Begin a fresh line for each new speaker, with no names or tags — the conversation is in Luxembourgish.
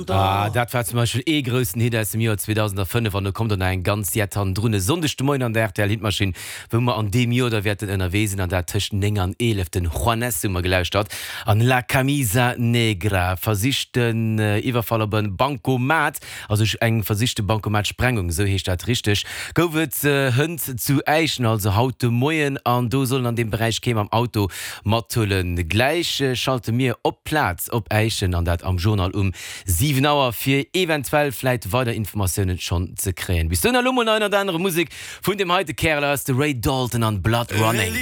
Ah, dat war zum Beispill ee groussen Hit aus dem Joer 2005 an do kommt och nach eng ganz Jett hannendrun. E Sonndeg de Moien an der rtl Hitmaschinn, wou mer an deem Joer da wäerten ënnerwee sinn an dat tëscht 9 an 11. Den Juanes hu mer gelauschtert an La Camisa Negra, versichten Iwwerfall op e Bancomat. Also eng versichte Bancomat-Sprengung, esou heescht dat richteg, gouf et hënt zu Äischen, also haut de Moien. An do sollen an deem Beräich kee mam Auto mathuelen. Gläich schalte mir op d'Plaz op Äischen, an dat am Journal um 7 Auer, fir eventuell vläit weider Informatiounen schonn ze kréien. Bis dohinner elo mol nach ënnert anerem Musek vun deem heite Kärel aus, de Ray Dalton an Blood Running.